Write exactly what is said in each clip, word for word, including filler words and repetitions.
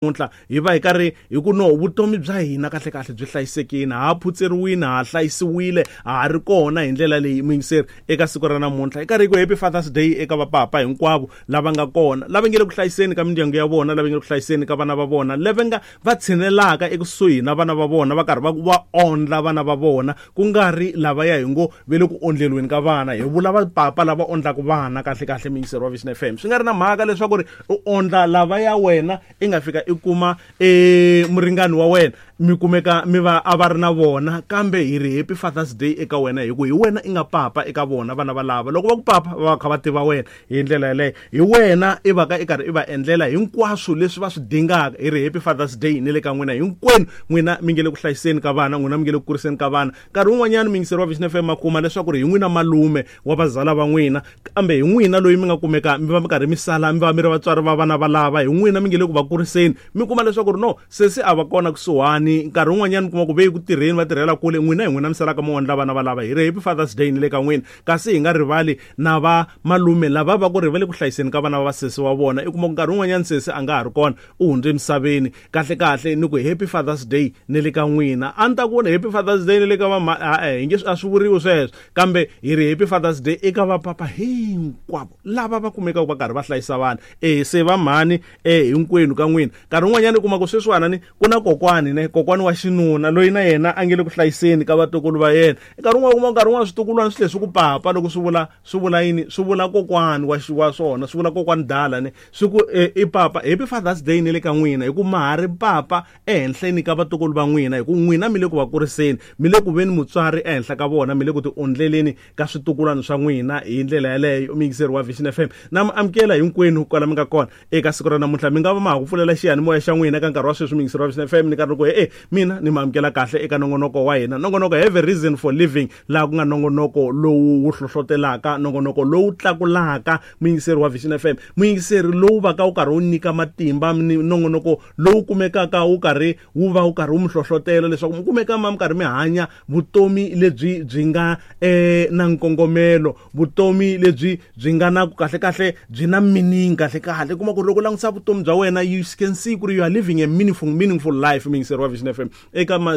Namuntlha hi va hi karhi hi ku no vutomi bya hina kahle kahle byi hlayisekile, ha phutseriwile, ha hlayisiwile, ha ha ri kona hi ndlela leyi. Muyingiseri, eka siku ra namuntlha hi karhi hi ku happy Father's Day eka vapapa hinkwavo lava nga kona, lava nge le ku hlayiseni ka mindyangu ya vona, lava nge le ku hlayiseni ka vana va vona, lava nga va tshinelaka ekusuhi na vana va vona, va karhi va va ondla vana va vona, ku nga ri lava ya hi ngo ve le ku ondleliweni ka vana. Hi vula vapapa lava ondlaka vana kahle kahle, muyingiseri wa Vision F M. Swi nga ri na mhaka leswaku ri u ondla lava ya wena i nga fika i kuma e muringani wa wena, mi kumeka mi va a va ri na vona, kambe hi ri happy Father's Day eka wena, hi ku hi wena i nga papa eka vona vana va lava. Loko va ku papa, va va kha va tiva wena hi ndlela yaleyo, hi wena i va ka i karhi i va endlela hinkwaswo leswi va swi dingaka. Hi ri happy Father's Day ni le ka n'wina hinkwenu, n'wina mi nge le ku hlayiseni ka vana, n'wina mi nge le ku kuriseni ka vana. Nkarhi wun'wanyana, muyingiseri wa Vision F M, ma kuma leswaku ri hi n'wina malume wa vazala va n'wina, kambe hi n'wina loyi mi nga kumeka mi va mi karhi mi sala mi va mi ri vatswari va vana va lava, hi n'wina mi nge le ku va kuriseni. Mi kuma leswaku ri no sesi a va kona kusuhani, nkarhi wun'wanyana mi kuma ku ve ku tirheni, va tirhela kule, n'wina hi n'wina mi salaka mi wondla vana va lava. Hi ri happy Father's Day ni le ka n'wina. Kasi hi nga rivali na va malume lava va ku ri va le ku hlayiseni ka vana va vasesi wa vona. I kuma ku nkarhi wun'wanyana sesi a nga ha ri kona, u hundze emisaveni. Kahle kahle ni ku happy Father's Day ni le ka n'wina. A ni ta ku happy Father's Day ni le ka va, e hi nge a swi vuriwi sweswo, kambe hi ri happy Father's Day eka vapapa hinkwavo lava va kumekaka va karhi va hlayisa vana. E se va mhani, e hinkwenu ka n'wina. Nkarhi wun'wanyana u kuma ku sweswiwana ni ku na kokwani, ne kokwani wa xinuna loyi na yena a nge le ku hlayiseni ka vatukulu va yena. Nkarhi wun'wana kuma nkarhi wun'wana switukulwana swi tlhe swi ku papa, loko swi vula swi vula yini? Swi vula kokwani wa wa swona, swi vula kokwani dala, ne swi ku e, i papa. Happy Father's Day ni le ka n'wina, hi ku ma ha ri papa ehenhleni ka vatukulu va n'wina, hi ku n'wina mi le ku va kuriseni, mi le ku veni mutswari ehenhla ka vona, mi le ku ti ondleleni ka switukulwana swa n'wina hi ndlela yaleyo. Muyingiseri wa Vision F M, na mi amukela hinkwenu kwala mi nga kona eka siku ra namuntlha. Mi nga va ma ha ku pfulela xiyanimoya xa n'wina ka nkarhi wa sweswi, muyingiseri wa Vision F M, ni karhi ni ku e mina ni mi amukela kahle eka nongonoko wa hina, nongonoko Have a Reason for Living, laha ku nga nongonoko lowu wu hlohlotelaka, nongonoko lowu tlakulaka, muyingiseri wa Vision F M, muyingiseri lowu va ka wu karhi wu nyika matimba, nongonoko lowu kumekaka wu karhi wu va wu karhi wu mi hlohlotela leswaku mi kumeka ma mi karhi mi hanya vutomi lebyi byi nga eh, na nkongomelo, vutomi lebyi byi nga na kahle kahle byi na meaning. Kahle kahle kuma ku ri loko u langutisa vutomi bya wena, you can see ku ri you are living a meaningful meaningful life. Muyingiseri wa Vision F M, eka ma,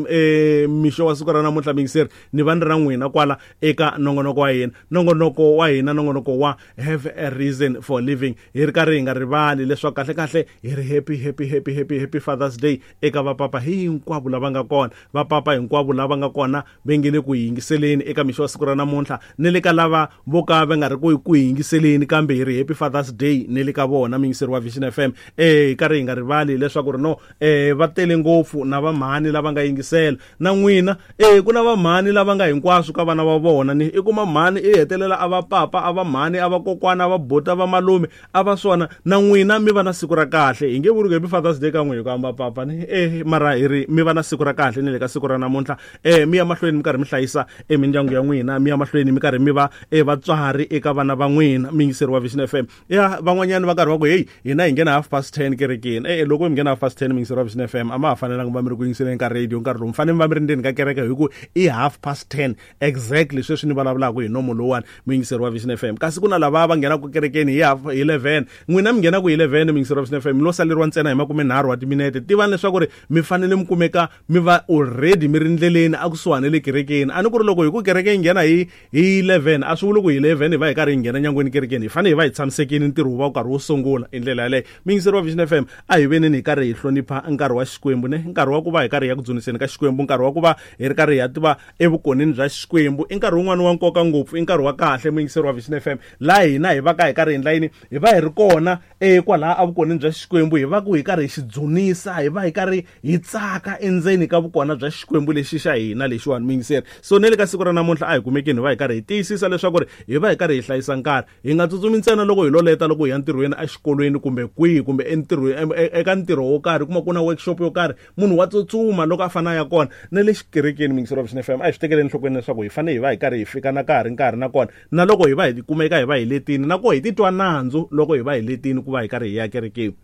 eh, mixo wa siku ra namuntlha, muyingiseri, ni va ni ra n'wina kwala eka nongonoko wa hina, nongonoko wa hina, nongonoko wa Have a Reason for Living. Hi ri karhi hi nga rivali leswaku kahle kahle hi ri happy happy happy happy happy Father's Day eka vapapa hinkwavo lava nga kona, vapapa hinkwavo lava nga kona va nge le ku yingiseleni eka mixo wa siku ra namuntlha, ni le ka lava vo ka va nga ri ku ku yingiseleni, kambe hi ri happy Father's Day ni le ka vona, muyingiseri wa Vision F M. Eh hi karhi hi nga rivali leswaku ri no eh va tele ngopfu na vamhani lava nga yingisela na n'wina. Eh ku na vamhani lava nga hinkwaswo ka vana va vona, ni i kuma mhani i hetelela a va papa, a va mhani, a va kokwana, a va bota, va malume, a va swona. Na n'wina mi va na siku ra kahle. Hi nge vuri ku happy Father's Day ka n'wina ku amba papa ni eh mara hi ri mi va na siku ra kahle ni le ka siku ra namuntlha. eh mi ya mahlweni mi karhi mi hlayisa emindyangu ya n'wina, mi ya mahlweni mi karhi mi va e vatswari eka vana va n'wina, muyingiseri wa Vision F M. Ya van'wanyani va karhi va ku, "Heyi, hina hi nghena half past ten kerekeni." E loko mi nghena half past ten, muyingiseri wa Vision F M, a ma ha fanelanga va mi ri ku yingiseleni ka radio nkarhi lowu, mi fanele mi va mi ri ndzeni ka kereke, hi ku i half past ten exactly sweswi ni vulavulaka hi nomo lowuwani, muyingiseri wa Vision F M. Kasi ku na lava va nghenaka kerekeni hi half eleven. N'wina mi nghenaka hi eleven, muyingiseri wa Vision F M, mi lo saleriwa ntsena hi makumenharhu wa timinete. Tivani leswaku ri mi fanele mi kumeka mi va already mi ri ndleleni a kusuhani le kerekeni. A ni ku ri loko hi ku kereke yi nghena hi hi eleven, a swi vuli ku hi eleven hi va hi karhi hi nghena nyangweni kerekeni. Hi fanele hi va hi tshamisekile, ntirho wu va wu karhi wu sungula hi ndlela yaleyo. Muyingiseri wa Vision F M, a hi veneni hi karhi hi hlonipha nkarhi wa Xikwembu, ne nkarhi wa ku va hi karhi hi ya ku dzuniseni ka Xikwembu, nkarhi wa ku va hi ri karhi hi ya tiva evukoneni bya Xikwembu. I nkarhi wun'wani wa nkoka ngopfu, i nkarhi wa kahle, muyingiseri wa Vision F M, laha hina hi va ka hi karhi hi endla yini? Hi va hi ri kona e kwalaha evukoneni bya Xikwembu, hi va ku hi karhi hi xi dzunisa, hi va hi karhi hi tsaka endzeni ka vukona bya Xikwembu lexi xa hina lexiwani, muyingiseri. So ne le ka siku ra namuntlha a hi kumekeni hi va hi karhi hi tiyisisa leswaku ri hi va hi karhi hi hlayisa nkarhi, hi nga tsutsumi ntsena loko hi lo leta loko hi ya ntirhweni, exikolweni, kumbe kwihi, kumbe entirhweni, eka ntirho wo karhi, kuma ku na workshop yo karhi, munhu wa tsutsuma loko a fanele a ya kona. Na le xikerekeni, muyingiseri wa Vision F M, a hi swi tekeli enhlokweni leswaku hi fanele hi va hi karhi hi fika na ka ha ri nkarhi, nakona na loko hi va hi kumeka hi va hi letini, na koho hi titwa nandzu loko hi va hi letini ku va hi karhi hi ya kerekeni.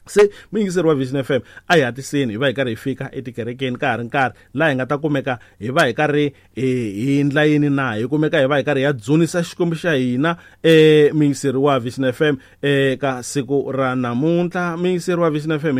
Se muyingiseri wa Vision F M, a hi hatliseni hi va hi karhi hi fika etikerekeni ka ha ri nkarhi, laha hi nga ta kumeka hi va hi karhi hi endla yini na hi kumeka hi va hi karhi ya dzunisa Xikwembu xa hina. um muyingiseri wa Vision F M, eka siku ra namuntlha, muyingiseri wa Vision F M.